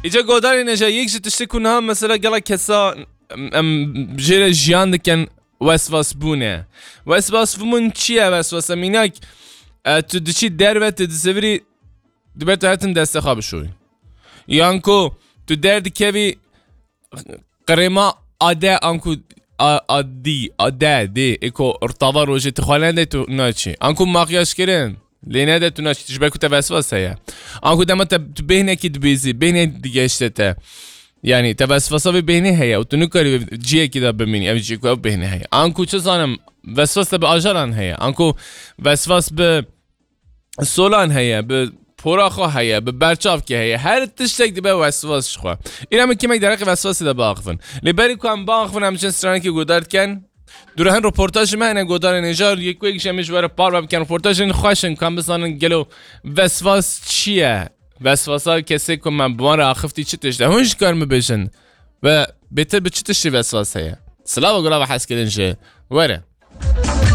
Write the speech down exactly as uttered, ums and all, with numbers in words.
Îca godarê neja yek ji tiştê ku niha mesela gela kesa em, em jê re jiyan dikin weswasbûn e. Weswasbûn çi ye weswasa? Mînak, e, tu diçî derve, tu dizivirî, dibe tu hetin destê xwe bişoyî. Yan ku tu derdikevî qirêma ade anku a-, adî, ade, dê, êko rtava rojê tu xwe nede tu naçî. Anku makyaj kirin, lê nede tu naçî, tu ji ber ku te vesvas heye. Anku dema te tu bêhnekî dibêzî, bêhnê digeşte te. Yani te vesvasa vê bêhnê heye û tu nikarî vê ciyekî de bimînî, ev ciyê ku ev bêhnê heye. Anku çi zanim, vesvas te bi ajaran heye. Anku vesvas bi solan heye, bi pora xwe heye, bi berçavkê heye. Her tiştek dibe weswas ji xwe. Îna min kêmek derheqê weswasê de biaxivin. Lê berî ku em biaxivin, em çend stranekî guhdar dikin. Dûre hin roportajê me hene, godarên hêja, yek ku yek jî em ê ji we re parve bikin. Roportajên xweş in ku em bizanin gelo weswas çi ye? Weswasa kesê ku me bi wan re axiftî çi tişt e? Hûn jî karin bibêjin. Ve bêtir bi çi tiştî weswas heye? Silav û gula ve hez kirin jî. Were.